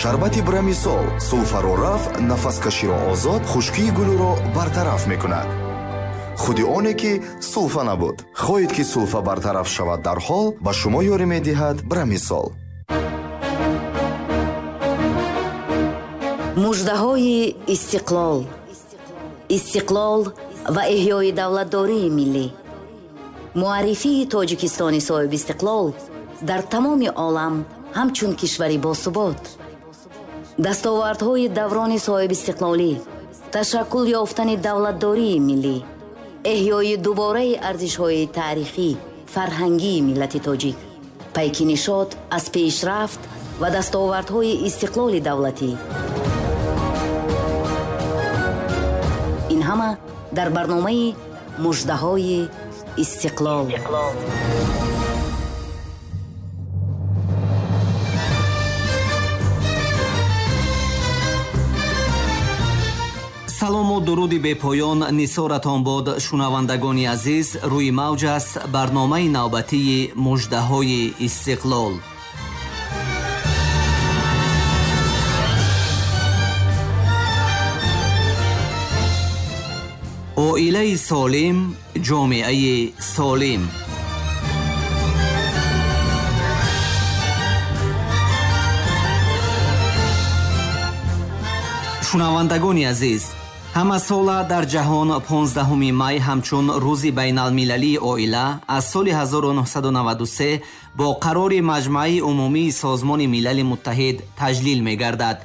Шарбати Брамисол сулфаро рафт, нафаскаширо озод, хушкии гулӯро бартараф мекунад. Худи оне ки сулфа набуд. Хоҳед ки сулфа бартараф шавад дарҳол, ба шумо ёрӣ медиҳад Брамисол. Муждаҳои истиқлол. Истиқлол ва эҳёи давлатдории миллӣ. Муаррифии Тоҷикистони соҳибистиқлол дар тамоми олам ҳамчун кишвари босубот. Дастовардҳои даврони соҳибистиқлолӣ, ташаккул ёфтани давлатдории миллӣ, эҳёи дубораи арзишҳои таърихӣ, фарҳангии миллати тоҷик, пайки нишот аз пешрафт ва дастовардҳои истиқлоли давлатӣ. Ин ҳама дар барномаи Муждаҳои истиқлол. Салому дуруди бепоён нисоратон бод, шунавандагони азиз. Рӯи мавҷ аст барномаи навбатии Муждаҳои истиқлол. Оилаи солим, ҷомеаи солим. Шунавандагони азиз, ҳамасола дар ҷаҳон 15 май ҳамчун рӯзи байналмилалии оила аз соли 1993 бо қарори Маҷмааи умумии Созмони Милали Муттаҳид таҷлил мегардад.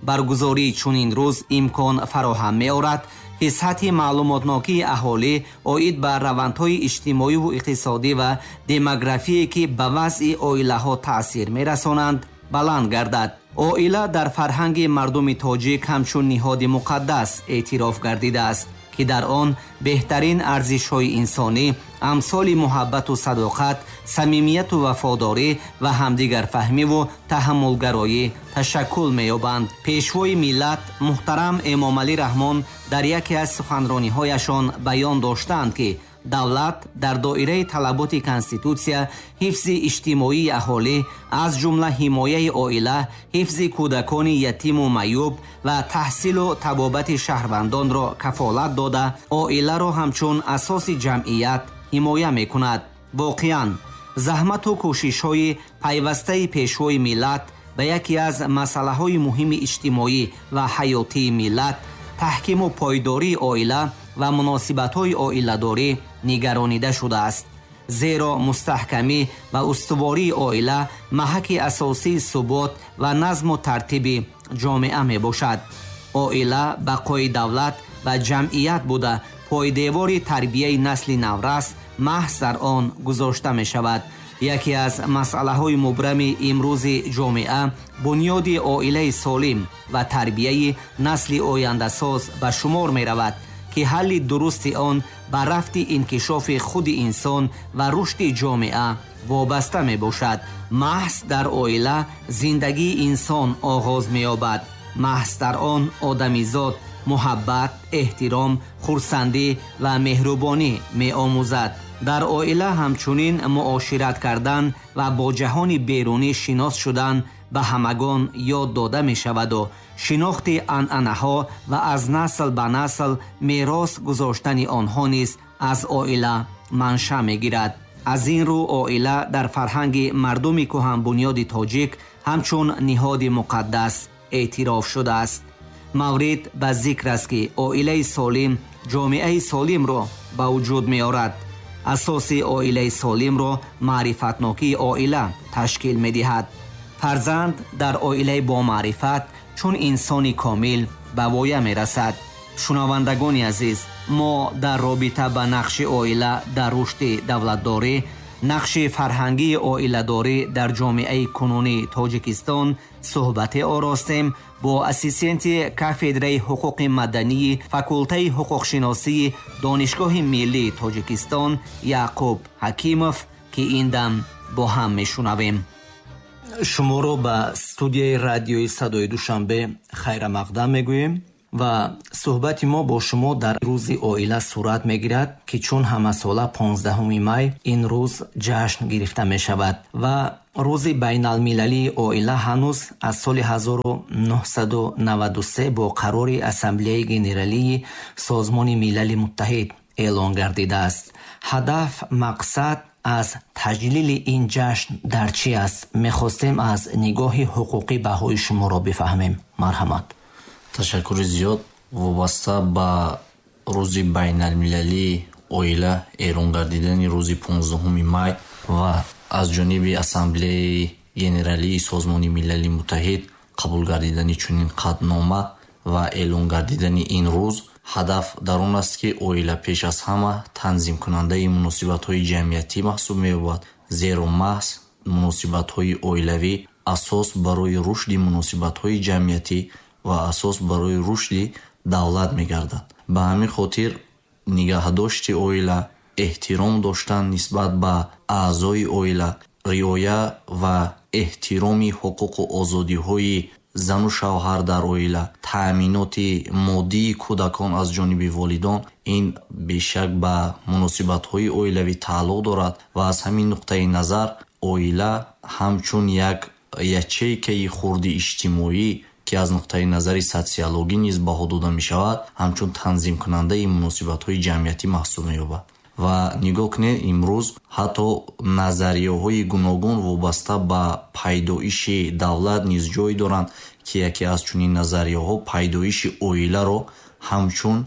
Баргузории чунин рӯз имкон фароҳам меорад, ки сатҳи маълумотнокии аҳолӣ оид ба равандҳои иҷтимоиву иқтисодӣ ва демографие, ки ба вазъи оилаҳо таъсир мерасонанд, баланд гардад. Оила дар фарҳанги мардуми тоҷик ҳамчун ниҳоди муқаддас эътироф гардидааст, ки дар он беҳтарин арзишҳои инсонӣ амсоли муҳаббату садоқат, самимияту вафодорӣ ва ҳамдигарфаҳмиву таҳаммулгароӣ ташаккул меёбанд. Пешвои миллат муҳтарам Эмомалӣ Раҳмон дар яке аз суханрониҳояшон баён доштаанд, ки давлат дар доираи талаботи конститутсия ҳифзи иҷтимоии аҳолӣ, аз ҷумла ҳимояи оила, ҳифзи кӯдакони ятиму маъюб ва таҳсилу табобати шаҳрвандонро кафолат дода, оиларо ҳамчун асоси ҷамъият ҳимоя мекунад. Воқеан, заҳмату кӯшишҳои пайвастаи пешвои миллат ба яке аз масъалаҳои муҳими иҷтимоӣ ва ҳаётии миллат, таҳкиму пойдории оила ва муносибатҳои оиладорӣ нигаронида шудааст. Зеро мустаҳкамӣ ва устувории оила маҳаки асосии субот ва назму тартиби ҷомеа мебошад. Оила бақои давлат ва ҷамъият буда, пойдевори тарбияи насли наврас маҳз дар он гузошта мешавад. Яке аз масъалаҳои мубрами имрӯзи ҷомеа бунёди оилаи солим ва тарбияи насли ояндасоз ба шумор меравад, ки ҳалли дурусти он ба рафти инкишофи худи инсон ва рушди ҷомеа вобаста мебошад. Маҳз дар оила зиндагии инсон оғоз меёбад. Маҳз дар он одамизод муҳаббат, эҳтиром, хурсандӣ ва меҳрубонӣ меомӯзад. Дар оила ҳамчунин муошират кардан ва бо ҷаҳони берунӣ шинос шудан ба ҳамагон ёд дода мешаваду шинохти анъанаҳо ва аз насл ба насл мерос гузоштани онҳо низ аз оила манша мегирад. Аз ин рӯ оила дар фарҳанги мардуми кӯҳанбунёди тоҷик ҳамчун ниҳоди муқаддас эътироф шудааст. Маврид ба зикр аст, ки оилаи солим ҷомеаи солимро ба вуҷуд меорад. Асоси оилаи солимро маърифатнокии оила ташкил медиҳад. Фарзанд дар оилаи бомаърифат чун инсони комил ба воя мерасад. Шунавандагони азиз, мо дар робита ба нақши оила дар рушди давлатдорӣ, нақши фарҳангии оиладорӣ дар ҷомеаи кунунии Тоҷикистон суҳбате оростем бо ассистенти кафедраи ҳуқуқи мадании факултаи ҳуқуқшиносии Донишгоҳи миллии Тоҷикистон Яъқуб Ҳакимов, ки ин дам бо ҳам мешунавем. Шуморо ба студияи радиои Садои Душанбе хайрамақдам мегӯем ва суҳбати мо бо шумо дар рӯзи оила сурат мегирад, ки чун ҳамасола 15 май ин рӯз ҷашн гирифта мешавад ва Рӯзи байналмилалии оила ҳанӯз аз соли 1993 бо қарори Ассамблеяи Генералии Созмони Милали Муттаҳид эълон гардидааст. Ҳадаф, мақсад аз таҷлили ин ҷашн дар чӣ аст? Мехостем аз нигоҳи ҳуқуқӣ баҳои шуморо бифаҳмем. Марҳамат. Ташаккури зиёд. Вобаста ба рӯзи байналмилалии оила эълон гардидани рӯзи 15 май ва аз ҷониби Ассамблеяи Генералии Созмони Милали Муттаҳид қабул гардидани чунин қатънома ва эълон гардидани ин рӯз, ҳадаф дар он аст, ки оила пеш аз ҳама танзимкунандаи муносибатҳои ҷамъиятӣ маҳсуб меёбад, зеро маҳз муносибатҳои оилавӣ асос барои рушди муносибатҳои ҷамъиятӣ ва асос барои рушди давлат мегардад. Ба ҳамин хотир нигаҳдошти оила, эҳтиром доштан нисбат ба аъзои оила, риоя ва эҳтироми ҳуқуқу озодиҳои зану шавҳар дар оила, таъминоти моддии кӯдакон аз ҷониби волидон, ин бешак ба муносибатҳои оилавӣ тааллуқ дорад ва аз ҳамин нуқтаи назар оила ҳамчун як ячейкаи хурди иҷтимоӣ, ки аз нуқтаи назари социологӣ низ баҳо дода мешавад, ҳамчун танзимкунандаи муносибатҳои ҷамъиятӣ маҳсуб меёбад. Ва нигоҳ кунед, имрӯз ҳатто назарияҳои гуногун вобаста ба пайдоиши давлат низ ҷой доранд, ки яке аз чунин назарияҳо пайдоиши оиларо ҳамчун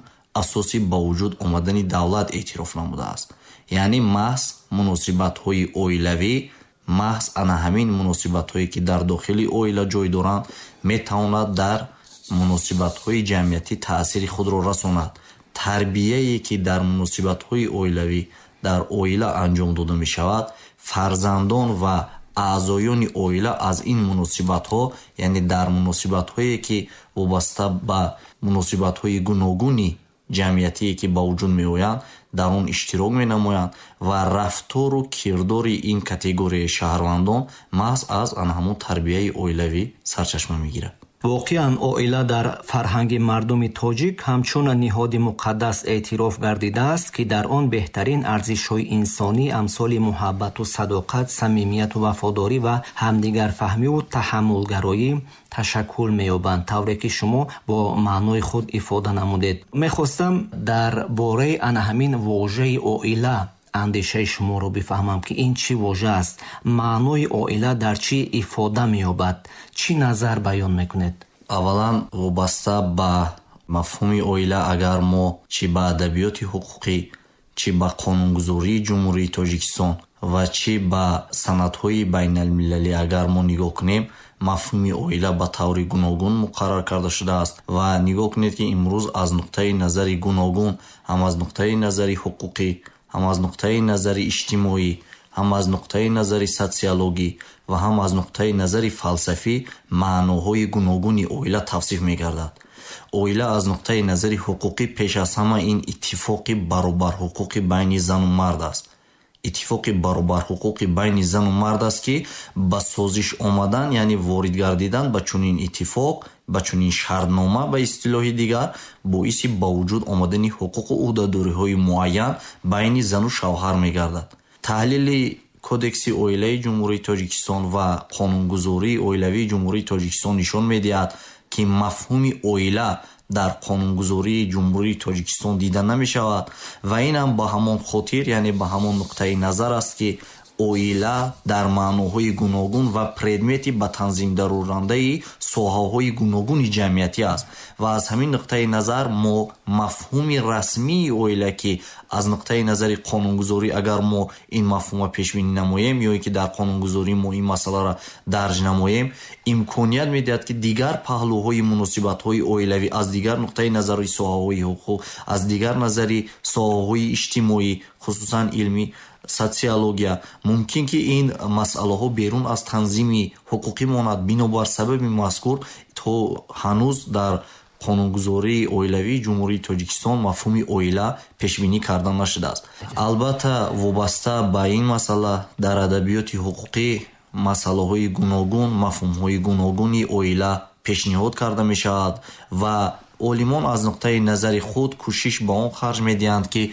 асоси ба вуҷуд омадани давлат эътироф намудааст. Яъне маҳз муносибатҳои оилавӣ, маҳз ана ҳамин муносибатҳое ки дар дохили оила ҷой доранд, метавонад дар муносибатҳои ҷамъиятӣ таъсири худро расонад. Тарбияе ки дар муносибатҳои оилавӣ дар оила анҷом дода мешавад, фарзандон ва аъзоёни оила аз ин муносибатҳо, яъне дар муносибатҳое ки вобаста ба муносибатҳои гуногуни ҷамъиятие ки ба вуҷуд меоянд, дар он иштирок менамоянд ва рафтору кирдори ин категорияи шаҳрвандон маҳз аз ана ҳамон тарбияи оилавӣ сарчашма мегирад. Воқеан, оила дар фарҳанги мардуми тоҷик ҳамчун ниҳоди муқаддас эътироф гардидааст, ки дар он беҳтарин арзишҳои инсонӣ амсоли муҳаббату садоқат, самимияту вафодорӣ ва ҳамдигарфаҳмиву таҳаммулгароӣ ташаккул меёбанд, тавре ки шумо бо маънои худ ифода намудед. Мехостам дар бораи ана ҳамин вожаи оила андешаи шуморо бифаҳмам, ки ин чӣ вожа аст, маънои оила дар чӣ ифода меёбад, чӣ назар баён мекунед? Аввалан, вобаста ба мафҳуми оила, агар мо чӣ ба адабиёти ҳуқуқӣ, чӣ ба қонунгузории Ҷумҳурии Тоҷикистон ва чӣ ба санадҳои байналмилалӣ агар мо нигоҳ кунем, мафҳуми оила ба таври гуногун муқаррар карда шудааст. Ва нигоҳ кунед, ки имрӯз аз нуқтаи назари гуногун, ҳам аз нуқтаи назари ҳуқуқӣ, ҳам аз нуқтаи назари иҷтимоӣ, ҳам аз нуқтаи назари социологӣ ва ҳам аз нуқтаи назари фалсафӣ маъноҳои гуногуни оила тавсиф мегардад. Оила аз нуқтаи назари ҳуқуқӣ пеш аз ҳама ин иттифоқи баробарҳуқуқи байни зану мард аст. Иттифоқи баробарҳуқуқи байни зану мард аст, ки ба созиш омадан, яъне ворид гардидан ба чунин иттифоқ, ба чунин шартнома ба истилоҳи дигар, боиси ба вуҷуд омадани ҳуқуқу ӯҳдадориҳои муайян байни зану шавҳар мегардад. Таҳлили Кодекси оилаи Ҷумҳурии Тоҷикистон ва қонунгузории оилавии Ҷумҳурии Тоҷикистон нишон медиҳад, ки мафҳуми оила дар қонунгузории Ҷумҳурии Тоҷикистон дида намешавад ва ин ҳам ба ҳамон хотир, яъне ба ҳамон нуқтаи назар аст, ки оила дар маъноҳои гуногун ва предмети ба танзим дарорандаи соҳаҳои гуногуни ҷамъиятӣ аст. Ва аз ҳамин нуқтаи назар мо мафҳуми расмии оила, ки аз нуқтаи назари қонунгузорӣ агар мо ин мафҳумро пешбинӣ намоем ё ин ки дар қонунгузорӣ мо ин масъаларо дарҷ намоем, имконият медиҳад, ки дигар паҳлӯҳои муносибатҳои оилавӣ аз дигар нуқтаи назари соҳаҳои ҳуқуқ, аз дигар назари соҳаҳои иҷтимоӣ, хусусан илмӣ, социология, мумкин ки ин масъалаҳо берун аз танзими ҳуқуқӣ монад. Бинобар сабаби мазкур то ҳанӯз дар қонунгузории оилавии Ҷумҳурии Тоҷикистон мафҳуми оила пешбинӣ карда нашудааст. Албатта, вобаста ба ин масъала дар адабиёти ҳуқуқӣ масъалаҳои гуногун, мафҳумҳои гуногуни оила пешниҳод карда мешавад ва олимон аз нуқтаи назари худ кӯшиш ба он харҷ медиҳанд, ки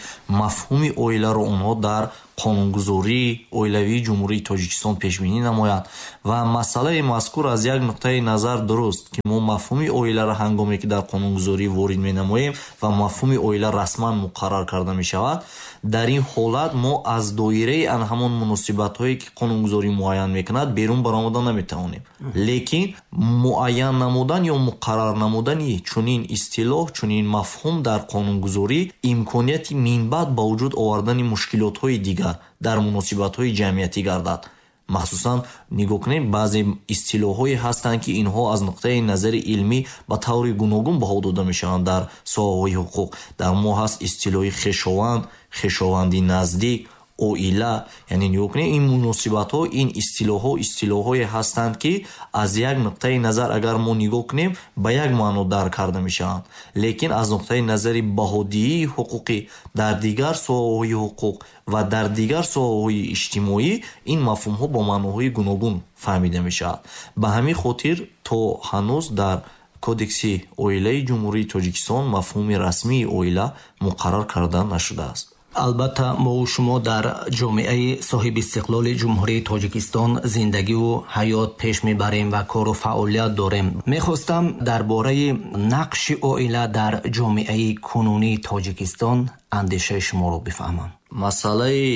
мафҳуми оиларо онҳо дар Қонунгузории оилавии Ҷумҳурии Тоҷикистон пешбинӣ намояд. Ва масъалаи мазкур аз як нуқтаи назар дуруст, ки мо мафҳуми оиларо ҳангоме ки дар қонунгузорӣ ворид менамоем ва мафҳуми оила расман муқаррар карда мешавад, дар ин ҳолат мо аз доираи ан ҳамон муносибатҳое ки қонунгузорӣ муайян мекунад, берун баромада наметавонем. Лекин муайян намудан ё муқаррар намудани чунин истилоҳ, чунин мафҳум дар қонунгузорӣ имконияти минбаъд ба вуҷуд овардани мушкилотҳои дигар дар муносибатҳои ҷамъиятӣ гардад. Махсусан нигоҳ кунем, баъзе истилоҳҳое ҳастанд, ки инҳо аз нуқтаи назари илмӣ ба таври гуногун баҳо дода мешаванд дар соҳаҳои ҳуқуқ. Дар мо ҳаст истилоҳи хешованд, хешованди наздик, оила. Яъне нигоҳ кунем, ин муносибатҳо, ин истилоҳҳо истилоҳҳое ҳастанд, ки аз як нуқтаи назар агар мо нигоҳ кунем, ба як маъно дарк карда мешаванд, лекин аз нуқтаи назари баҳодиҳии ҳуқуқӣ дар дигар соҳаҳои ҳуқуқ ва дар дигар соҳаҳои иҷтимоӣ ин мафҳумҳо бо маъноҳои гуногун фаҳмида мешавад. Ба ҳамин хотир то ҳанӯз дар Кодекси оилаи Ҷумҳурии Тоҷикистон мафҳуми расмии оила муқаррар карда нашудааст. Албатта, мову шумо дар ҷомеаи соҳибистиқлоли Ҷумҳурии Тоҷикистон зиндагиву ҳаёт пеш мебарем ва кору фаъолият дорем. Мехостам дар бораи нақши оила дар ҷомеаи кунунии Тоҷикистон андешаи шуморо бифаҳмам. Масъалаи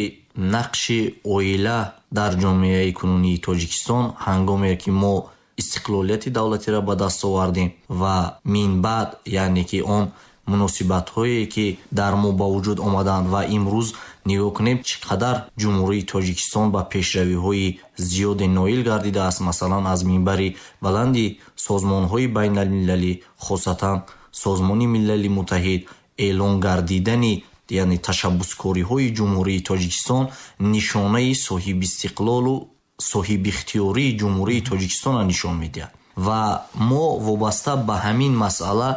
нақши оила дар ҷомеаи кунунии Тоҷикистон, ҳангоме ки мо истиқлолияти давлатиро ба даст овардем ва минбаъд, яъне ки он муносибатҳое ки дар мо ба вуҷуд омаданд, ва имрӯз нигоҳ кунем, чӣ қадар Ҷумҳурии Тоҷикистон ба пешравиҳои зиёде ноил гардидааст. Масалан, аз минбари баланди созмонҳои байналмилалӣ, хосатан Созмони Милали Муттаҳид, эълон гардидани, яъне ташаббускориҳои Ҷумҳурии Тоҷикистон нишонаи соҳибистиқлолу соҳибихтиёрии Ҷумҳурии Тоҷикистонро нишон медиҳад. Ва мо вобаста ба ҳамин масъала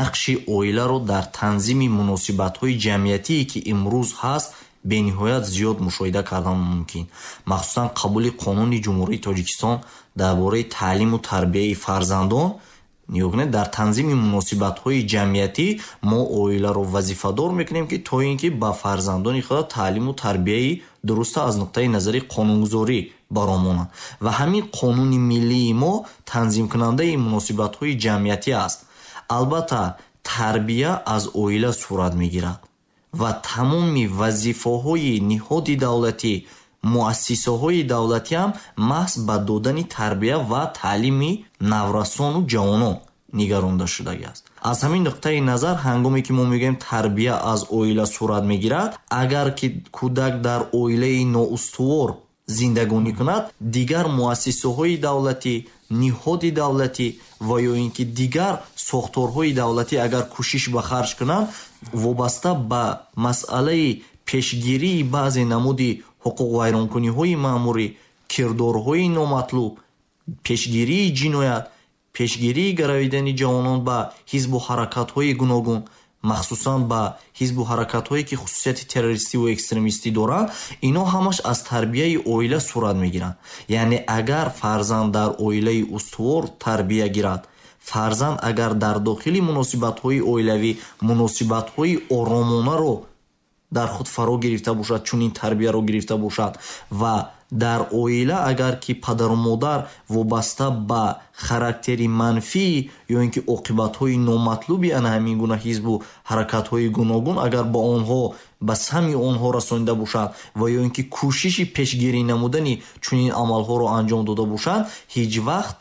нақши оиларо дар танзими муносибатҳои ҷамъиятие ки имрӯз ҳаст, бениҳоят зиёд мушоҳида кардан мумкин. Махсусан қабули Қонуни Ҷумҳурии Тоҷикистон дар бораи таълиму тарбияи фарзандон, нигоҳ кунед, дар танзими муносибатҳои ҷамъиятӣ мо оиларо вазифадор мекунем, ки то ин ки ба фарзандони худ таълиму тарбияи дуруста аз нуқтаи назари қонунгузорӣ баромонанд. Ва ҳамин қонуни миллии мо танзимкунандаи муносибатҳои ҷамъиятӣ аст. Албатта, тарбия аз оила сурат мегирад ва тамоми вазифаҳои ниҳоди давлатӣ, муассисаҳои давлатӣ ҳам маҳз ба додани тарбия ва таълими наврасону ҷавонон нигаронда шудагиаст. Аз ҳамин нуқтаи назар, ҳангоме ки мо мегӯем тарбия аз оила сурат мегирад, агар ки кӯдак дар оилаи ноустувор зиндагонӣ кунад, дигар муассисаҳои давлатӣ, ниҳоди давлатӣ ва ё ин ки дигар сохторҳои давлатӣ агар кӯшиш ба харҷ кунанд, вобаста ба масъалаи пешгирии баъзе намуди ҳуқуқвайронкуниҳои маъмурӣ, кирдорҳои номатлуб, пешгирии ҷиноят, пешгирии гаравидани ҷавонон ба ҳизбу ҳаракатҳои гуногун, махсусан ба ҳизбу ҳаракатҳое ки хусусияти террористиву экстремистӣ доранд, ино ҳамаш аз тарбияи оила сурат мегиранд. Яъне агар фарзанд дар оилаи устувор тарбия гирад, фарзанд агар дар дохили муносибатҳои оилавӣ муносибатҳои оромонаро дар худ фаро гирифта бошад, чунин тарбияро гирифта бошад, ва дар оила агар ки падару модар вобаста ба характери манфӣ ё ин ки оқибатҳои номатлуби ана ҳамин гуна ҳизбу ҳаракатҳои гуногун агар ба онҳо, ба самъи онҳо расонида бошанд ва ё ин ки кӯшиши пешгирӣ намудани чунин амалҳоро анҷом дода бошанд, ҳеҷ вақт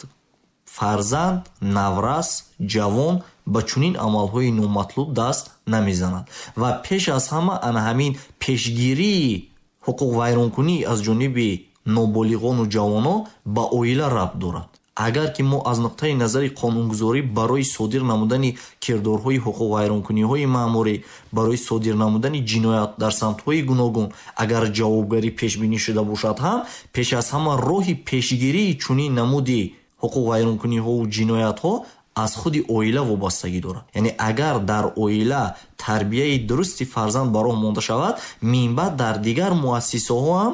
фарзанд, наврас, ҷавон ба чунин амалҳои номатлуб даст намезанад. Ва пеш аз ҳама ана ҳамин пешгирии ҳуқуқвайронкунӣ аз ҷониби ноболиғону ҷавонон ба оила рабт дорад. Агар ки мо аз нуқтаи назари қонунгузорӣ барои содир намудани кирдорҳои ҳуқуқвайронкуниҳои маъмурӣ, барои содир намудани ҷиноят дар самтҳои гуногун агар ҷавобгарӣ пешбинӣ шуда бошад ҳам, пеш аз ҳама роҳи пешгирии чунин намуди ҳуқуқвайронкуниҳову ҷиноятҳо аз худи оила вобастагӣ дорад. Яъне агар дар оила тарбияи дурусти фарзанд ба роҳ монда шавад, минбаъд дар дигар муассисаҳо ҳам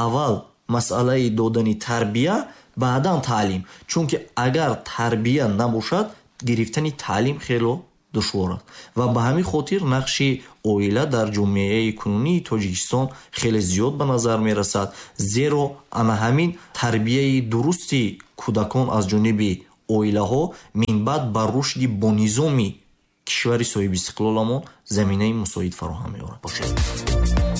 аввал масъалаи додани тарбия, баъдан таълим. Чунки агар тарбия набошад, гирифтани таълим хело Душвор аст ва ба ҳамин хотир нақши оила дар ҷомеаи кунунии Тоҷикистон хеле зиёд ба назар мерасад, зеро ана ҳамин тарбияи дурусти кӯдакон аз ҷониби оилаҳо минбаъд ба рушди бонизоми кишвари соҳибистиқлоламон заминаи мусоид фароҳам меорад.